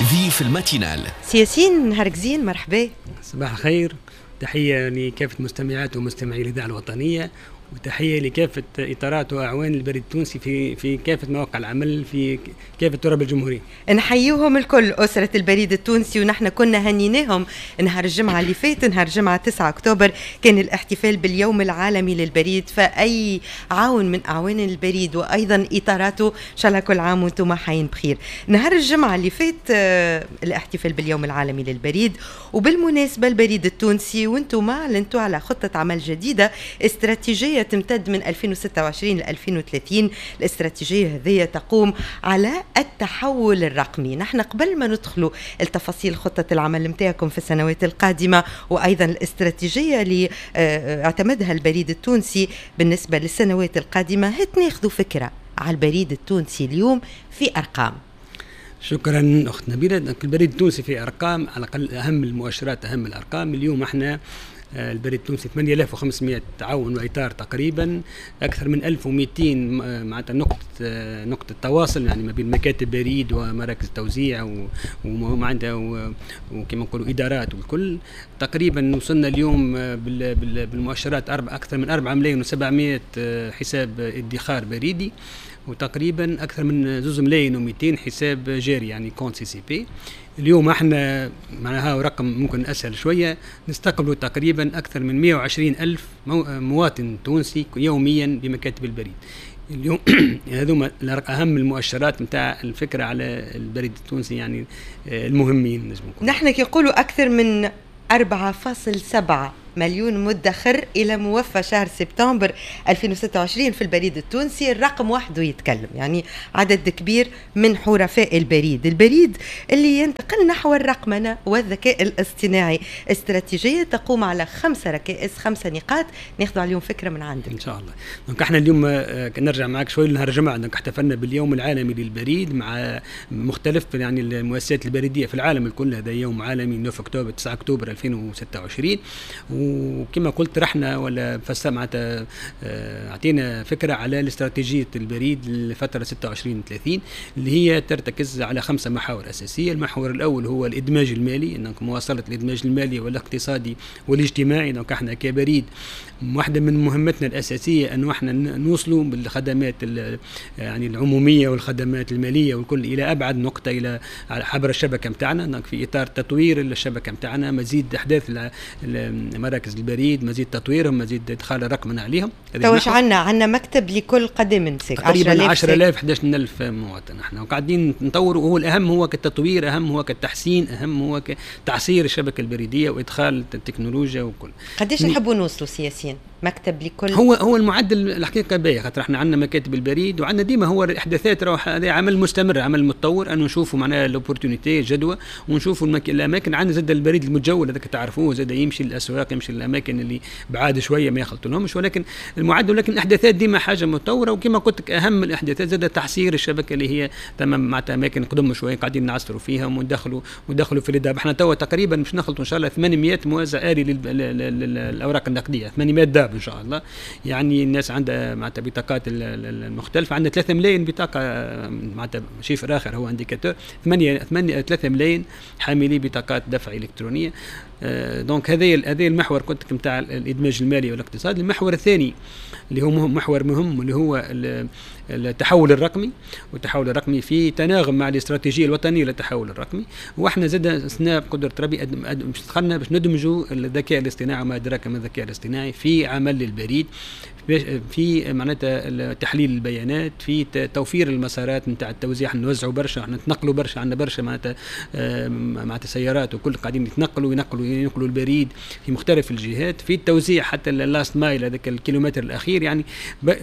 ضيف ال matinale. سي ياسين، نهارك زين، مرحبا. صباح الخير، تحية لكافة مستمعات ومستمعي الإذاعة الوطنية، وتحية لكافة إطارات وأعوان البريد التونسي في كافة مواقع العمل في كافة تراب الجمهورية. نحييهم الكل، أسرة البريد التونسي، ونحن كنا هنيناهم نهار الجمعة اللي فات، نهار الجمعة 9 أكتوبر كان الاحتفال باليوم العالمي للبريد، فأي عون من أعوان البريد وأيضا إطاراته إن شاء الله كل عام وأنتم حيين بخير. نهار الجمعة اللي فات الاحتفال باليوم العالمي للبريد، وبالمناسبة البريد التونسي وأنتم أعلنتوا على خطة عمل جديدة، استراتيجية تمتد من 2026 ل 2030. الاستراتيجية هذه تقوم على التحول الرقمي. نحن قبل ما ندخلوا التفاصيل خطة العمل متاعكم في السنوات القادمة وأيضا الاستراتيجية اللي اعتمدها البريد التونسي بالنسبة للسنوات القادمة، هات ناخذوا فكرة على البريد التونسي اليوم في أرقام. شكرا أخت نبيلة. البريد التونسي في أرقام، على الأقل أهم المؤشرات، أهم الأرقام اليوم احنا البريد التونسي 8500 عون واطار تقريبا، اكثر من 1200 معناتها نقطه تواصل، يعني ما بين مكاتب بريد ومراكز توزيع ومعناتها وكما نقولوا ادارات والكل. تقريبا وصلنا اليوم بالمؤشرات اكثر من 4 ملايين و700 حساب ادخار بريدي، وتقريبا اكثر من 2 ملايين و200 حساب جاري، يعني compte CCP. اليوم احنا معناها رقم ممكن اسهل شويه، نستقبل تقريبا اكثر من 120 الف مواطن تونسي يوميا بمكاتب البريد. اليوم هذوما اهم المؤشرات نتاع الفكرة على البريد التونسي، يعني المهمين نجم نقول. نحن كي نقولوا اكثر من 4.7 مليون مدخر إلى موفى شهر سبتمبر 2026 في البريد التونسي، الرقم وحده يتكلم، يعني عدد كبير من حرفاء البريد، البريد اللي ينتقل نحو الرقمنة والذكاء الاصطناعي، استراتيجية تقوم على 5 ركائز، 5 نقاط، ناخذ عليهم فكرة من عندك إن شاء الله. donc احنا اليوم نرجع معك شوي لنهار الجمعة، donc احتفلنا باليوم العالمي للبريد مع مختلف يعني المؤسسات البريدية في العالم الكل. هذا يوم عالمي 9 أكتوبر، 9 أكتوبر 2026. وكما قلت رحنا ولا فسر معناتها اعطينا فكرة على الاستراتيجية البريد للفترة 26 30، اللي هي ترتكز على 5 محاور اساسيه. المحور الاول هو الادماج المالي، انك مواصلة الادماج المالي والاقتصادي والاجتماعي. donc احنا كبريد واحدة من مهمتنا الاساسية انه احنا نوصلوا بالخدمات يعني العمومية والخدمات المالية والكل الى ابعد نقطه، الى عبر الشبكة نتاعنا. donc في اطار تطوير الشبكة نتاعنا، مزيد احداث مراكز البريد، مزيد تطويرهم، مزيد ادخال الرقمنه عليهم. تو عندنا مكتب لكل قدم تقريبا 10000 11000 مواطن. احنا وقاعدين نطوروا، وهو الاهم هو كالتطوير، اهم هو كالتحسين، اهم هو كتعصير الشبكة البريدية وادخال التكنولوجيا وكل. قداش نحبوا نوصلوا سي ياسين مكتب لكل؟ هو المعدل الحقيقة باهي، خاطر احنا عندنا مكاتب البريد وعندنا ديما هو الاحداثات، هذا عمل مستمر، عمل متطور، انه نشوفوا معناها l'opportunité جدوى ونشوفوا الاماكن. عندنا زاد البريد المتجول هذاك تعرفوه، زاد يمشي للاسواق، يمشي للاماكن اللي بعاد شوية ما يخلطولهمش، ولكن المعدل، ولكن الاحداثات ديما حاجة متطوره. وكما قلت لك اهم الاحداثات زاد تعصير الشبكة اللي هي تمام معناتها اماكن قدم شوية قاعدين نعصروا فيها وندخلوا في les DAB. احنا توا تقريبا باش نخلطوا ان شاء الله 800 موزع آلي للاوراق النقديه، 800 DAB ان شاء الله. يعني الناس عندها معناتها بطاقات المختلفه، عندنا 3 ملايين بطاقه، معناتها chiffre اخر هو indicateur، 8 8 3 ملايين حاملي بطاقات دفع الكترونيه. donc هذا المحور كنت نتاع الادماج المالي والاقتصادي. المحور الثاني اللي هو محور مهم اللي هو التحول الرقمي، والتحول الرقمي في تناغم مع الاستراتيجية الوطنية للتحول الرقمي. واحنا زاد سنا بقدره ربي دخلنا باش ندمجوا الذكاء الاصطناعي وما ادراك ما الذكاء الاصطناعي في عمل البريد، في معناتها تحليل البيانات، في توفير المسارات نتاع التوزيع. احنا نوزعوا برشا، احنا نتنقلوا برشا، عندنا برشا معناتها سيارات وكل قاعدين يتنقلوا ينقلوا البريد في مختلف الجهات، في التوزيع حتى ال last mile هذاك الكيلومتر الاخير. يعني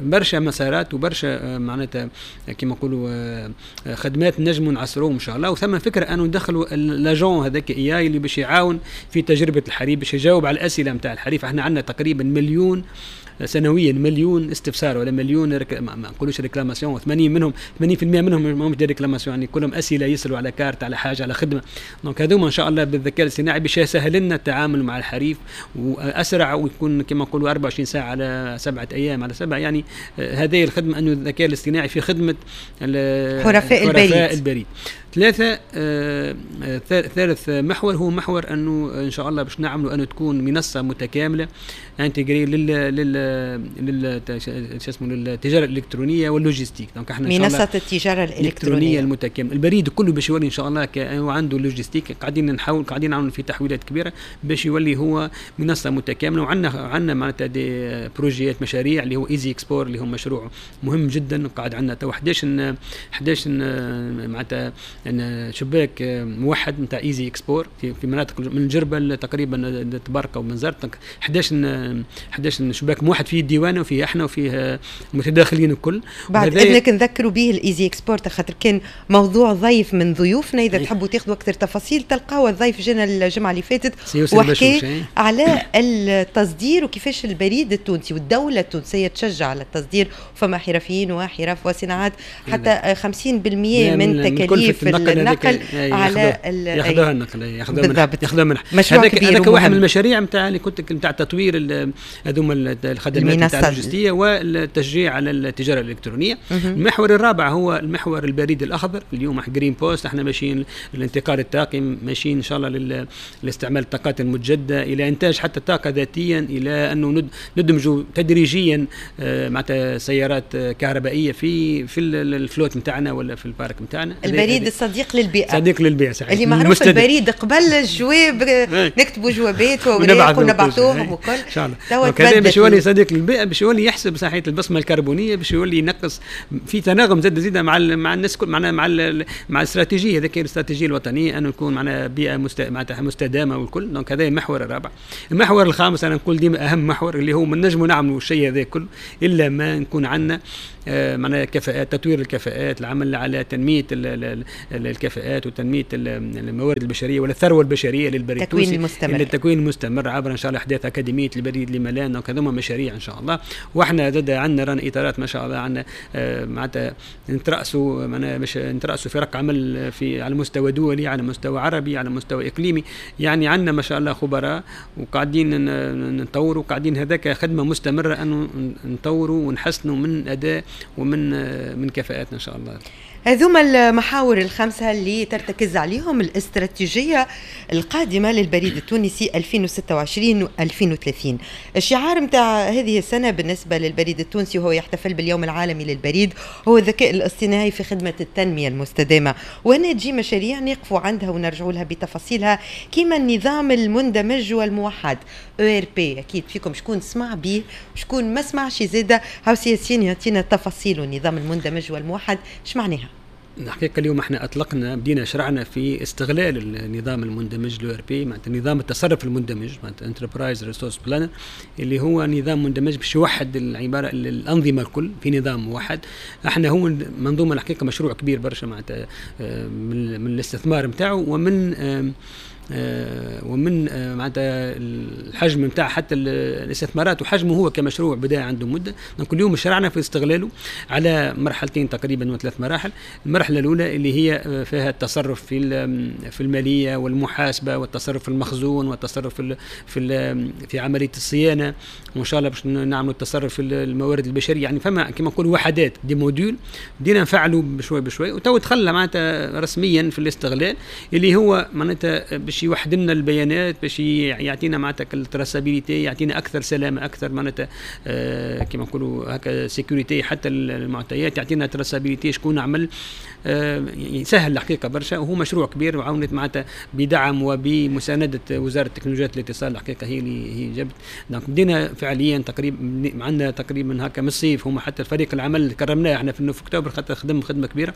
برشا مسارات وبرشا معناتها كما نقولوا خدمات نجموا نعصروهم ان شاء الله. وثم فكرة انه ندخلوا l'agent هذاك AI اللي باش يعاون في تجربه الحريف، باش يجاوب على الاسئلة نتاع الحريف. احنا عندنا تقريبا مليون سنويا، مليون استفسار ولا مليون ما نقولوش réclamation، 80 منهم 80% منهم ماهمش des réclamations، يعني كلهم اسئلة يسالوا على كارت، على حاجه، على خدمه. donc هذوما ان شاء الله بالذكاء الاصطناعي باش يسهل لنا التعامل مع الحريف واسرع، ويكون كما نقولوا 24 ساعة على 7 ايام على 7. يعني هذه الخدمة انه الذكاء الاصطناعي في خدمة حرفاء البريد. ثلاثة ثالث محور هو محور انه ان شاء الله باش نعملوا انه تكون منصة متكاملة intégrée لل شو اسمه للتجارة الالكترونية وال logistique. donc احنا منصة التجارة الالكترونية المتكاملة، البريد كله باش يولي ان شاء الله عنده logistique. قاعدين نحاول، قاعدين نعملوا في تحويلات كبيرة باش يولي هو منصة متكاملة. وعندنا معناتها des projets، مشاريع اللي هو Easy Export، اللي هو مشروع مهم جدا. قاعد عندنا تو 11 معناتها شباك موحد نتاع Easy Export في مناطق من جربه تقريبا طبرقه وبنزرت، 11 شباك موحد فيه الديوانه وفيه احنا وفيه المتداخلين الكل. بعد اذنك نذكروا به ال Easy Export خاطر كان موضوع ضيف من ضيوفنا، اذا تحبوا تاخذوا اكثر تفاصيل تلقاو الضيف جانا الجمعة اللي فاتت وحكي على التصدير وكيفاش البريد التونسي والدولة التونسية تشجع على التصدير، فما حرفيين وحرف وصناعات حتى 50% من تكاليف النقل على ياخذوها النقل، ياخذوها ياخذوها منح. هذاك واحد من المشاريع نتاع اللي كنت نتاع تطوير هذوما الخدمات نتاع اللوجستية والتشجيع على التجارة الالكترونية. المحور الرابع هو المحور البريد الاخضر. اليوم Green Post، احنا ماشيين للانتقال الطاقي، ماشيين ان شاء الله لاستعمال الطاقات المتجددة، الى انتاج حتى الطاقة ذاتيا، الى انه ندمجوا تدريجيا معناتها سيارات كهربائية في ال flotte نتاعنا ولا في ال parc نتاعنا. البريد الصديق للبيئة، صديق للبيئة صحيح، اللي معروف البريد قبل الجواب نكتبوا جوابات واوراق ونبعثوهم وكل. ان شاء الله هذا باش يولي صديق للبيئه، باش يولي يحسب صحيح البصمة الكربونيه، باش يولي ينقص في تناغم زاد مع الناس كل، مع الاستراتيجية هذيك الاستراتيجية الوطنية انه يكون معنا بيئة معناتها مستدامة والكل. donc هذا المحور الرابع. المحور الخامس انا نقول ديما اهم محور اللي هو ما نجموا نعملوا الشيء هذا كله الا ما نكون عندنا معناها كفاءات، تطوير الكفاءات، العمل على تنمية الكفاءات وتنميه الموارد البشرية ولا الثروة البشرية للبريد التكوين المستمر، التكوين المستمر عبر ان شاء الله احداث اكاديمية البريد لملان. donc هذوما مشاريع ان شاء الله. واحنا زاد عندنا رانا اطارات ما شاء الله، عندنا معناتها نترأسوا معناها باش نترأسوا فرق عمل في على مستوى دولي، على مستوى عربي، على مستوى اقليمي. يعني عندنا ما شاء الله خبراء وقاعدين نطوروا، وقاعدين هذاك خدمة مستمرة انه نطوروا ونحسنوا من اداء ومن من كفاءاتنا ان شاء الله. هذوما المحاور الخمسة اللي ترتكز عليهم الاستراتيجية القادمة للبريد التونسي 2026 2030. الشعار متاع هذه السنة بالنسبة للبريد التونسي وهو يحتفل باليوم العالمي للبريد هو الذكاء الاصطناعي في خدمة التنمية المستدامة. وهنا تجي مشاريع نقفوا عندها ونرجعوا لها بتفاصيلها، كما النظام المندمج والموحد ERP. أكيد فيكم شكون سمع به شكون ما سمعش، زاده هاو سياسيين يعطينا تفاصيل النظام المندمج والموحد اش معناها. الحقيقة اليوم احنا اطلقنا، بدينا شرعنا في استغلال النظام المندمج l'ERP، معناتها نظام التصرف المندمج، معناتها enterprise resource planner، اللي هو نظام مندمج باش يوحد العبارة الانظمة الكل في نظام موحد. احنا هو منظومة الحقيقة مشروع كبير برشا معناتها من الاستثمار نتاعو ومن معناتها الحجم نتاع حتى الاستثمارات وحجمه هو كمشروع بدا عنده مده. donc اليوم شرعنا في استغلاله على مرحلتين تقريبا وثلاث مراحل. المرحلة الاولى اللي هي فيها التصرف في المالية والمحاسبه والتصرف في المخزون والتصرف في عملية الصيانة، وان شاء الله باش نعملوا التصرف في الموارد البشرية. يعني فما كما نقولوا وحدات des modules بدينا نفعلوا بشوي بشوي، وتو دخلنا معناتها رسميا في الاستغلال اللي هو معناتها باش يوحد لنا البيانات، باش يعطينا معناتها ال traçabilité، يعطينا اكثر سلامه، اكثر معناتها كما نقولوا هكا sécurité حتى المعطيات، يعطينا traçabilité شكون عمل، يسهل الحقيقة برشا. وهو مشروع كبير وعاونت معناتها بدعم وبمسانده وزارة تكنولوجيا الاتصال الحقيقة هي اللي هي جابت. donc بدينا فعليا تقريبا عندنا تقريبا هكا من الصيف، هما حتى الفريق العمل كرمناه احنا في اكتوبر خاطر خدم خدمة كبيرة،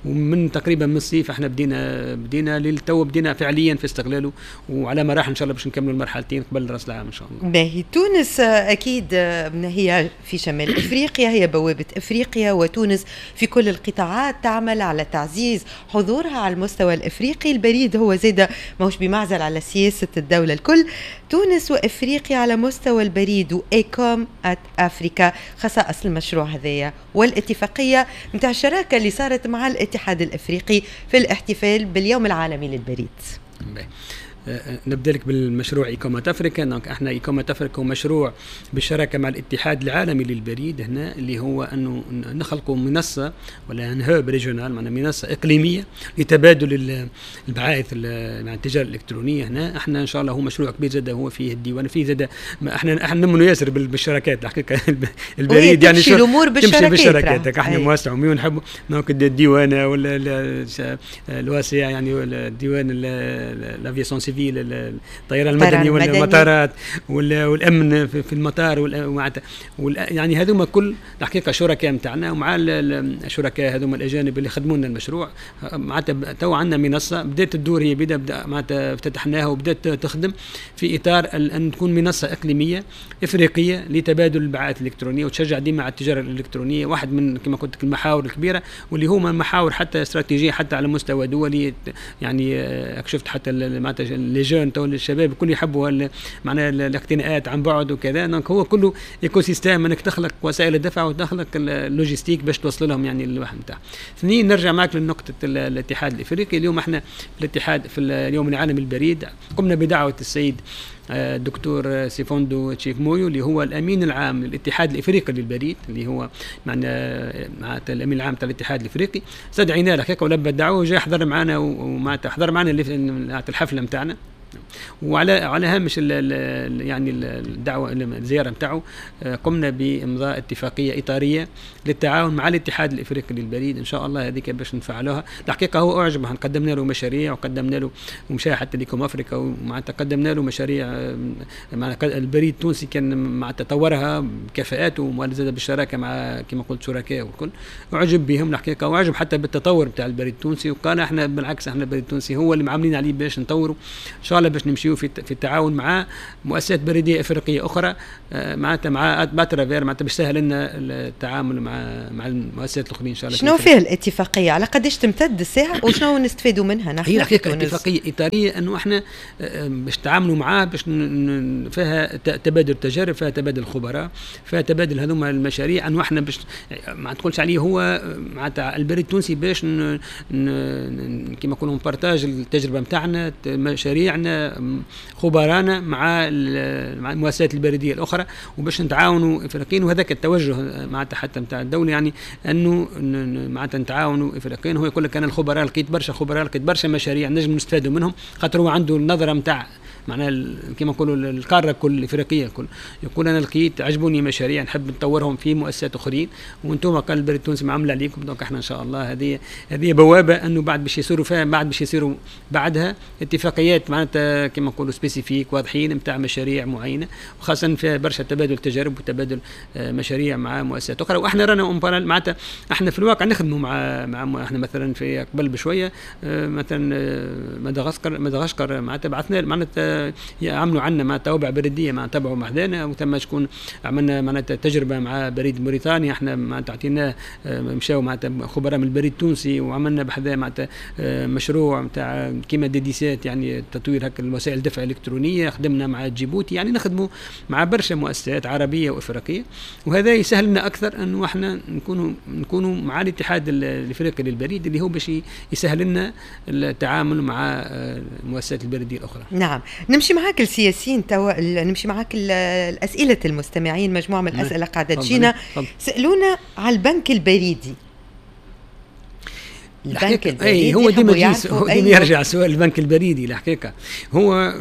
ومن تقريبا من الصيف احنا بدينا للتو بدينا فعليا في استغلاله، وعلى مراحل ان شاء الله باش نكملوا المرحلتين قبل راس العام ان شاء الله. باهي، تونس اكيد هي في شمال افريقيا، هي بوابه افريقيا، وتونس في كل القطاعات تعمل على تعزيز حضورها على المستوى الافريقي. البريد هو زاده ماهوش بمعزل على سياسة الدولة الكل. تونس وافريقيا على مستوى البريد و Ecom at Africa، خصائص المشروع هذايا والاتفاقيه نتاع الشراكة اللي صارت مع الاتحاد الافريقي في الاحتفال باليوم العالمي للبريد. نبدا لك بالمشروع Ecomat Africa. donc احنا Ecomat Africa هو مشروع بالشراكة مع الاتحاد العالمي للبريد هنا، اللي هو انه نخلقوا منصة ولا un hub régional، معنا منصة اقليمية لتبادل البعائث مع التجارة الالكترونية هنا. احنا ان شاء الله هو مشروع كبير زاد، هو فيه الديوان، فيه زاد احنا نمنوا ياسر بالشراكات الحقيقة. البريد يعني تمشي الامور بالشراكات، تمشي بالشراكات. احنا مؤسسة عموميه ونحب donc الديوانه ولا الواسع، يعني الديوان l'aviation civile، الطيران المدني والمطارات والامن في المطار، يعني هذوما كل الحقيقة شركاء نتاعنا. ومع الشركاء هذوما الاجانب اللي خدموا لنا المشروع، معناتها تو عندنا منصة بدات تدور، هي بدا معناتها افتتحناها وبدات تخدم في اطار ان تكون منصة اقليمية افريقية لتبادل البعائث الالكترونية وتشجع ديما على التجارة الالكترونية. واحد من كما قلت لك المحاور الكبيرة، واللي هما محاور حتى استراتيجية حتى على مستوى دولي. يعني شفت حتى معناتها les jeunes تو الشباب الكل يحبوا معناها الاقتناءات عن بعد وكذا. donc هو كله écosystème، انك تخلق وسائل الدفع وتخلق ال logistique باش توصل لهم يعني الواحد نتاع. اثنين، نرجع معك لنقطة الاتحاد الافريقي. اليوم احنا في الاتحاد في اليوم العالمي للبريد قمنا بدعوة السيد الدكتور سيفوندو تشيف مويو، اللي هو الامين العام للاتحاد الافريقي للبريد، اللي هو معنا الامين العام تاع الاتحاد الافريقي. استدعيناه الحقيقة ولبى الدعوة وجاء حضر معنا، ومعناتها حضر معنا الحفلة نتاعنا. وعلى هامش ال يعني الدعوة الزيارة نتاعو قمنا بامضاء اتفاقية اطاريه للتعاون مع الاتحاد الافريقي للبريد. ان شاء الله هذيك باش نفعلوها. الحقيقة هو اعجب، قدمنا له مشاريع وقدمنا له ومشى حتى l'Ecom Africa، ومعناتها قدمنا له مشاريع مع البريد التونسي كان مع تطورها بكفاءاته وزاد بالشراكة مع كما قلت شركاء والكل. اعجب بهم الحقيقة، واعجب حتى بالتطور بتاع البريد التونسي، وقال احنا بالعكس احنا البريد التونسي هو اللي معاملين عليه باش نطوروا ان شاء الله، باش نمشيو في التعاون مع مؤسسات بريديه افريقية اخرى، معناتها مع à travers معناتها باش سهل لنا التعامل مع المؤسسات الاخرين ان شاء الله. شنو فيها الاتفاقية؟ على قداش تمتد الساعة وشنو نستفادوا منها نحن؟ هي الحقيقة اتفاقية اطاريه انه احنا باش نتعاملوا معاه، باش فيها تبادل تجارب، فيها تبادل خبراء، فيها تبادل هذوما المشاريع، انه احنا باش ما تقولش عليه هو معناتها البريد التونسي باش كما نقولوا partage التجربة نتاعنا، مشاريعنا، خبرانا مع المؤسسات البريدية الاخرى، وباش نتعاونوا افريقيا. وهذاك التوجه معناتها حتى نتاع الدولة، يعني انه معناتها نتعاونوا افريقيا. هو يقول لك انا الخبراء لقيت برشا خبراء، لقيت برشا مشاريع نجم نستفادوا منهم، خاطر هو عنده النظرة نتاع معناها كما نقولوا القارة كل الافريقية الكل. يقول انا لقيت عجبوني مشاريع نحب نطورهم في مؤسسات اخرين، وانتم قال البريد التونسي معاملة عليكم. donc احنا ان شاء الله هذه بوابه انه بعد باش يصيروا فيها، بعد باش يصيروا بعدها اتفاقيات معناتها كما نقولوا spécifiques واضحين نتاع مشاريع معينة، وخاصة فيها برشا تبادل تجارب وتبادل مشاريع مع مؤسسات اخرى. واحنا رانا معناتها احنا في الواقع نخدموا مع احنا مثلا في قبل بشوية مثلا مدغشقر معناتها بعثنا معناتها عملوا عندنا مع توابع بريديه مع تبعوا محدانا، وثم شكون عملنا معناتها تجربه مع بريد موريتانيا، احنا معناتها عطيناه مشاو معناتها خبراء من البريد التونسي، وعملنا بحذاه معناتها مشروع نتاع كيما D17، يعني تطوير هكا الوسائل الدفع الالكترونية. خدمنا مع جيبوتي، يعني نخدموا مع برشا مؤسسات عربية وافريقيه، وهذا يسهل لنا اكثر انه احنا نكونوا مع الاتحاد الافريقي للبريد، اللي هو باش يسهل لنا التعامل مع المؤسسات البريدية الاخرى. نعم، نمشي معاك السياسيين توا، نمشي معاك الأسئلة المستمعين، مجموعة من الأسئلة قاعدة تجينا. سألونا على البنك البريدي. البنك البريدي هو ديما يرجع سؤال البنك البريدي. الحقيقة هو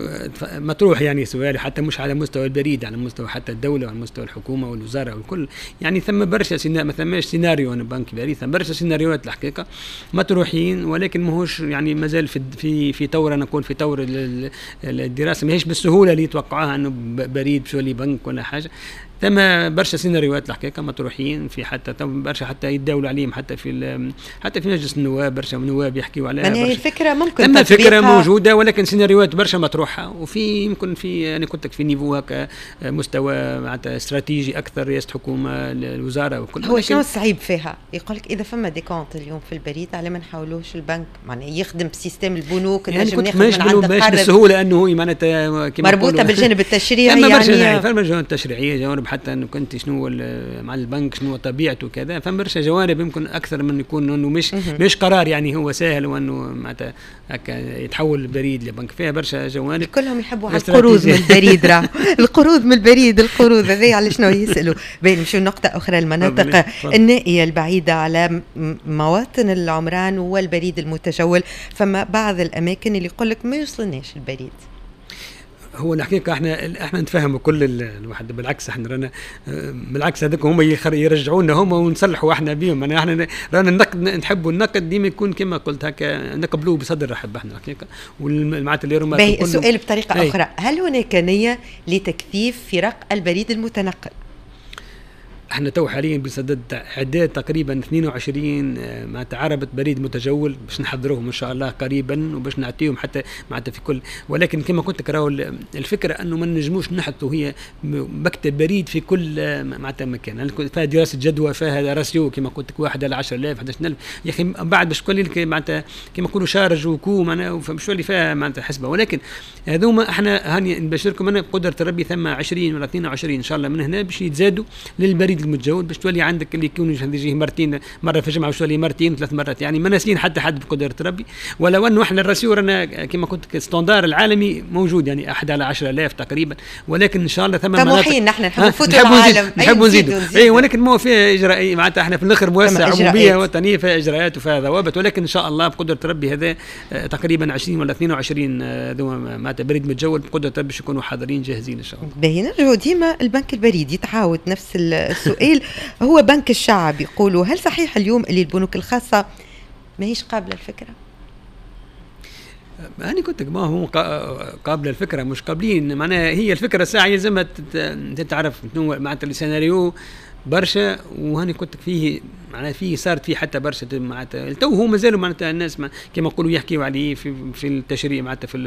مطروح يعني سؤال حتى مش على مستوى البريد، على مستوى حتى الدولة وعلى مستوى الحكومة والوزارة والكل. يعني ثم برشا ما ثماش سيناريو أنا بنك بريد، ثم برشا سيناريوهات الحقيقة مطروحين، ولكن ماهوش يعني مازال في في طور، أنا نقول في طور الدراسة، ماهيش بالسهولة اللي يتوقعوها أنه بريد باش يولي بنك ولا حاجة. ثم برشا سيناريوهات الحقيقة مطروحين في حتى برشا حتى يتداولوا عليهم حتى في مجلس النواب، برشا نواب يحكيوا عليها. يعني الفكرة ممكن ثم فكرة موجودة، ولكن سيناريوهات برشا مطروحة، وفي يمكن في انا قلت لك في niveau هكا مستوى معناتها استراتيجي اكثر، رئاسة الحكومة الوزارة وكل. هو شنو الصعيب فيها؟ يقول لك اذا فما des comptes اليوم في البريد على ما نحاولوش البنك معناها يخدم ب système البنوك، يعني نجم ناخذ من عند قرض بالسهولة انه هو معناتها مربوطة بالجانب التشريعي، يعني برشا الجوانب التشريعية، جوانب القرب حتى انه كنت شنو مع البنك شنو طبيعته وكذا، فما برشا جوانب يمكن اكثر من يكون انه مش قرار يعني هو سهل وانه معناتها هكا يتحول البريد لبنك، فيها برشا جوانب. كلهم يحبوا على القروض من البريد، راه القروض من البريد، القروض هذه على شنو يسالوا. باهي نمشيو لنقطة اخرى، المناطق النائية البعيدة على مواطن العمران والبريد المتجول، فما بعض الاماكن اللي يقول لك ما يوصلناش البريد. هو الحقيقة احنا نتفاهموا كل الواحد، بالعكس احنا رانا بالعكس هذوك هما يرجعونا هما ونصلحوا احنا بهم. احنا رانا النقد نحبوا النقد ديما يكون كما قلت هكا نقبلوه بصدر رحب احنا الحقيقة. والمعناتها اللي رما السؤال بطريقة اخرى، هل هناك نيه لتكثيف فرق البريد المتنقل؟ احنا تو حاليا بصدد اعداد تقريبا 22 معناتها عربة بريد متجول باش نحضروهم ان شاء الله قريبا، وباش نعطيهم حتى معناتها في كل، ولكن كما قلت لك راهو الفكرة انه ما نجموش نحطوا هي مكتب بريد في كل معناتها مكان، فيها دراسة جدوى، فيها ratio كما قلت لك 1 على 10000 11000 يا اخي، بعد باش تولي لك معناتها كما نقولوا charge و coût معناها باش تولي فيها معناتها حسبه. ولكن هذوما احنا هاني نبشركم انا بقدره ربي ثم 20 ولا 22 ان شاء الله من هنا باش يتزادوا للبريد المتجول، باش تولي عندك اللي يكون يجيه مرتين، مرة في الجمعة باش تولي مرتين 3 مرات، يعني ما ناسيين حتى حد بقدره ربي. ولو انه احنا ال ratio رانا كما قلت standard العالمي موجود يعني 1 على 10000 تقريبا، ولكن ان شاء الله ثم طموحين نحن نحب نفوتوا العالم، نحب نزيدوا اي، ولكن ما فيها اجراء معناتها احنا في الاخر مؤسسة عموميه وطنية فيها اجراءات وفيها ضوابط، ولكن ان شاء الله بقدره ربي هذا تقريبا 20 ولا 22 معناتها بريد متجول بقدره ربي باش يكونوا حاضرين جاهزين ان شاء الله. باهي نرجعوا ديما البنك البريدي، تعاود نفس السؤال، هو بنك الشعب يقولوا، هل صحيح اليوم اللي البنوك الخاصة ماهيش قابلة الفكرة؟ أنا قلت لك ما هو قابلة الفكرة، مش قابلين معناها هي الفكرة ساعة يلزمها تتعرف معناتها السيناريو برشا، وهاني قلت لك فيه معناها فيه صارت فيه حتى برشا معناتها تو هو مازالوا معناتها الناس كما نقولوا يحكيوا عليه في التشريع معناتها في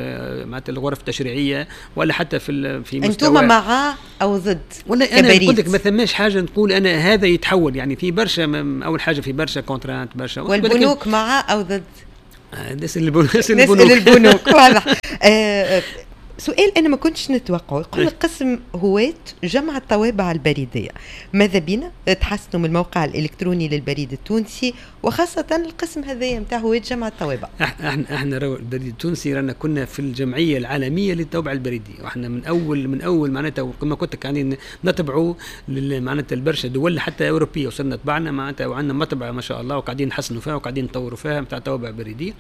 معناتها الغرف التشريعية ولا حتى في مستوى. انتم مع او ضد؟ ولا انا قلت لك ما ثماش حاجة نقول انا هذا يتحول، يعني في برشا، اول حاجة في برشا contraintes برشا. والبنوك مع او ضد؟ نسال البنوك. البنوك واضح. سؤال أنا ما كنتش نتوقعه، يقول قسم هواة جمع الطوابع البريدية، ماذا بينا تحسنوا من الموقع الإلكتروني للبريد التونسي وخاصة القسم هذايا نتاع هواة جمع الطوابع؟ احنا البريد التونسي رانا كنا في الجمعية العالمية للطوابع البريدية، واحنا من أول معناتها كما قلت لك يعني نتبعوا معناتها البرشا دول حتى أوروبية، وصلنا طبعنا معناتها وعندنا مطبعة ما شاء الله وقاعدين نحسنوا فيها وقاعدين نطوروا فيها نتاع طوابع بريدية.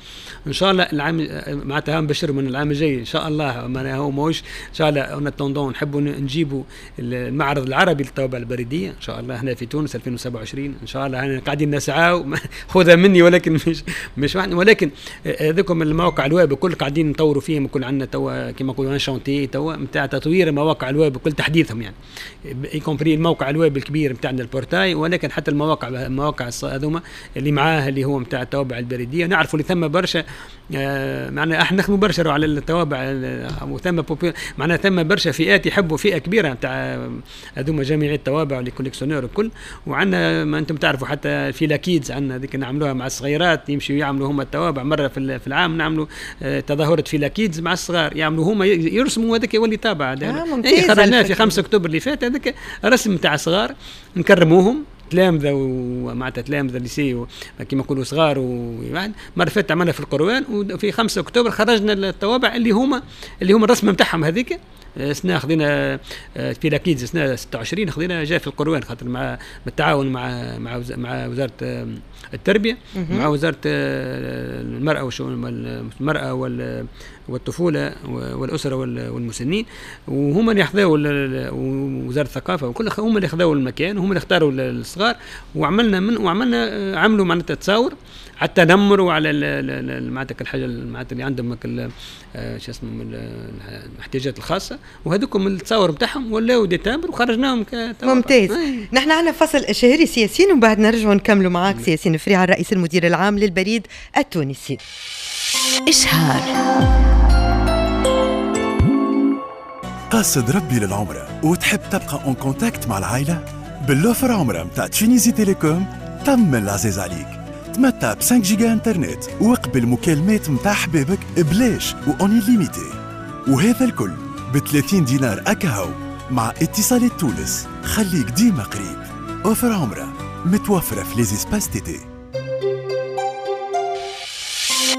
إن شاء الله العام معناتها نبشر من العام الجاي إن شاء الله، هو ماهوش ان شاء الله en attendant نحبوا نجيبوا المعرض العربي للطوابع البريدية ان شاء الله هنا في تونس 2027 ان شاء الله، احنا قاعدين نسعى خذها مني ولكن مش واحد، ولكن هذوكم المواقع الويب الكل قاعدين نطوروا فيهم، الكل عندنا توا كما نقولوا un chantier توا نتاع تطوير مواقع الويب الكل تحديثهم، يعني y compris الموقع الويب الكبير نتاعنا ال portail، ولكن حتى المواقع هذوما اللي معاه اللي هو نتاع الطوابع البريدية. نعرفوا اللي ثم برشا معناها احنا نخدموا برشا على الطوابع، وثم معناها ثم برشا فئات يحبوا، فئة كبيرة نتاع هذوما جميع الطوابع les collectionneurs الكل. وعندنا ما انتم تعرفوا حتى في la kids عندنا هذيك نعملوها مع الصغيرات، يمشيوا يعملوا هما الطوابع مرة في العام، نعملوا تظاهرة في la kids مع الصغار، يعملوا هما يرسموا هذاك يولي طابع. خرجناه في 5 اكتوبر اللي فات، هذاك رسم نتاع صغار نكرموهم تلامذه ومعناتها تلامذه lycée كيما نقولوا صغار، وواحد مرة فاتت عملنا في القروان، وفي 5 اكتوبر خرجنا الطوابع اللي هما الرسمة نتاعهم هذيك. سنة خذينا في la kids سنة 26 خذينا جاء في القروان، خاطر مع بالتعاون مع مع مع وزارة التربية، مع وزارة المراة وشؤون المراة والطفوله والاسرة والمسنين، وهما اللي خذاو وزارة الثقافة وكل، هما اللي خذاو المكان وهما اللي اختاروا الصغار، وعملنا عملوا معناتها تصاور على التنمر وعلى معناتها الحاجة معناتها اللي عندهم شو اسمه الاحتياجات الخاصة، وهذوكم التصاور نتاعهم ولاو des timbres وخرجناهم. ممتاز. نحن عندنا فصل شهري سي ياسين ومن بعد نرجعوا نكملوا معاك سي ياسين فريعة الرئيس المدير العام للبريد التونسي. إشهار. قاصد ربي للعمرة وتحب تبقى en contact مع العائلة؟ بال offre عمرة متاع Tunisie Telecom تم العزيز عليك، تمتع ب 5 جيجا انترنت وقبل مكالمات متاع حبابك بلاش و en illimité، وهذا الكل ب 30 دينار أكاهو. مع اتصالات تونس، خليك ديما قريب. offre عمرة متوفرة في les espaces TT.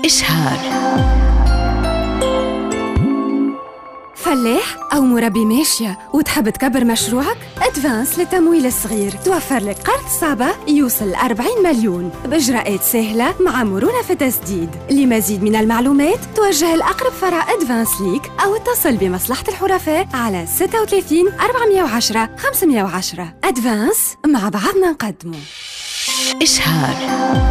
إشهار. فلاح أو مربي ماشية وتحب تكبر مشروعك؟ أدفانس للتمويل الصغير توفر لك قرض صعبة يوصل 40 مليون بإجراءات سهلة مع مرونة في التسديد. لمزيد من المعلومات توجه لأقرب فرع أدفانس ليك أو اتصل بمصلحة الحرفاء على 36 410 510. أدفانس، مع بعضنا نقدمه. إشهار.